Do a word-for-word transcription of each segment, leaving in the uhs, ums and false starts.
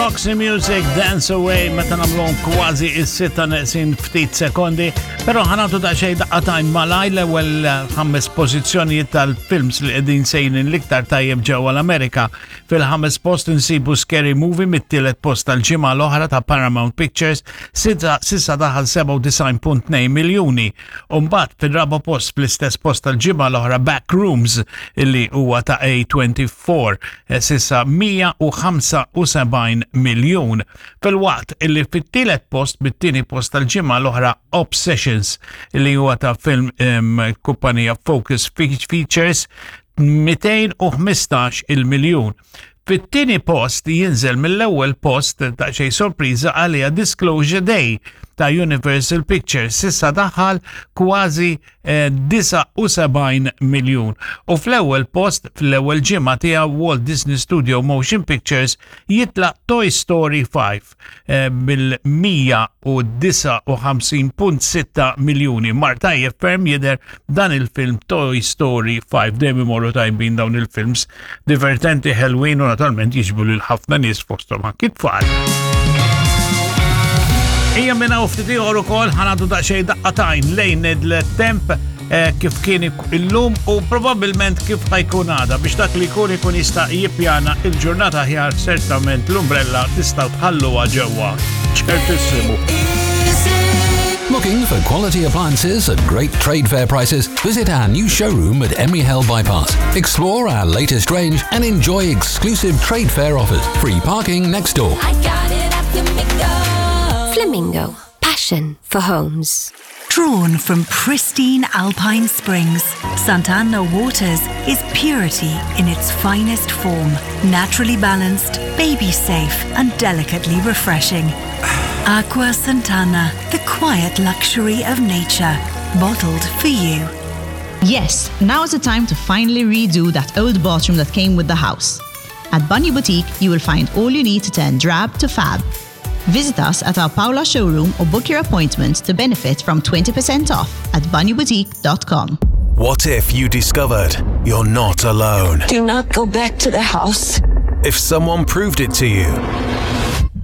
Roxy Music, Dance Away, meta nagħmluhom kważi is-sitta neqsin ftit sekondi, però ħa nagħtu daqsxejn daqqa t'għajn malajr l-ewwel ħames pożizzjonijiet tal-films li qegħdin sejrin l-iktar tajjeb ġewwa l-Amerika. Fil-ħames post insibu Scary Movie, mit-tielet post tal-ġimgħa l-oħra ta' Paramount Pictures, s'issa s'issa daħal sebgħa u disgħin punt tnejn miljuni. Umbagħad fil-raba post, fl-istess post tal-ġimgħa l-oħra, Backrooms, illi huwa ta' A twenty-four, eh, s'issa mija u ħamsa u sebgħin miljun. Filwaqt illi fit-tielet post, bit-tieni post tal-ġimgħa l-oħra, Obsessions, illi huwa ta' film um, kumpanija Focus Features, mitejn u ħmistax il-miljun. Fit-tieni post jinżel mill-ewwel post, ta' xejn sorpriża għalija, Disclosure Day ta' Universal Pictures, s'issa daħal kważi eh, disgħa u sebgħin miljun. U fl-ewwel post, fl-ewwel ġimgħa tiegħu Walt Disney Studio Motion Pictures, jitla' Toy Story ħamsa eh, bil-mija u disgħa u ħamsin punt sitta miljuni. Mar tajjeb ferm jidher dan il-film Toy Story ħamsa. Dejjem imorru tajbin dawn il-films, divertenti, ħelwin u naturalment jiġbdu lil ħafna nies, fosthom anki tfal. Ija minn hawn ftit ieħor ukoll ħa nagħtu daqsxejn daqqa t'għajn lejn il-temp eh, kif kien illum u probabbilment kif ħa jkun għada, biex dak li jkun ikun jista' jippjana il-ġurnata aħjar. Certament l-umbrella tistgħu tħalluha ġewwa. Ċertissimu. Looking for quality appliances at great trade fair prices? Visit our new showroom at Emery Hale Bypass. Explore our latest range and enjoy exclusive trade fair offers. Free parking next door. I got it at Flamingo. Flamingo, passion for homes. Drawn from pristine alpine springs, Sant'Anna Waters is purity in its finest form, naturally balanced, baby safe, and delicately refreshing. Aqua Santana, the quiet luxury of nature, bottled for you. Yes, now is the time to finally redo that old bathroom that came with the house. At Banju Boutique, you will find all you need to turn drab to fab. Visit us at our Paola showroom or book your appointment to benefit from twenty percent off at banyuboutique dot com. What if you discovered you're not alone? Do not go back to the house. If someone proved it to you,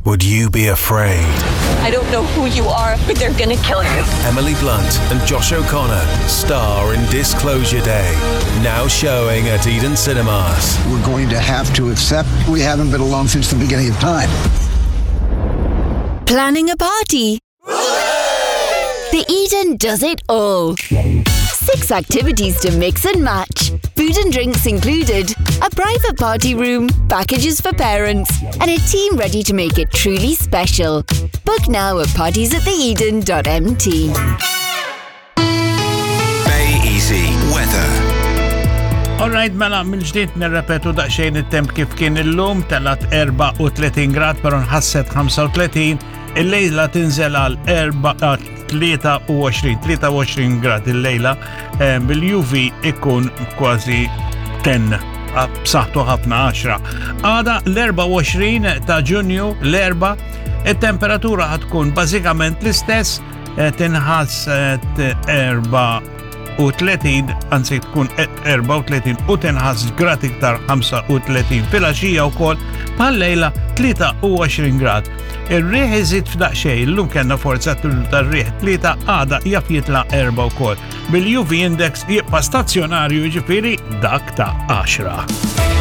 would you be afraid? I don't know who you are, but they're gonna kill you. Emily Blunt and Josh O'Connor star in Disclosure Day, now showing at Eden Cinemas. We're going to have to accept we haven't been alone since the beginning of time. Planning a party? The Eden does it all. Six activities to mix and match, food and drinks included, a private party room, packages for parents, and a team ready to make it truly special. Book now at parties at the eden dot M T. Bay Easy Weather. Alright, mela mill-ġdid nirrepetu daqsxejn it-temp kif kien illum: telgħet erbgħa u tletin grad, però nħasset ħamsa u tletin, il-lejla tinżel għal tlieta u għoxrin, tlieta u għoxrin grad il-lejla, eh, bil-U V ikun kważi għaxra, b'saħħtu ħafna għaxra. Għada l-erbgħa u għoxrin ta' Ġunju, l-Erbgħa, it-temperatura ħa tkun bażikament l-istess, eh, tinħass eh, erbgħa u tletin, anzi tkun erbgħa u tletin u tinħass grad iktar, ħamsa u tletin. Filgħaxija wkoll bħal-lejla tlieta u għoxrin grad. Ir-riħ iżid f'daqsxejn, illum kellna forza tar-riħ tlieta, għada jaf jitla' erba' wkoll. Bil-U V index jibqa' stazzjonarju, ġifieri dak ta' għaxra.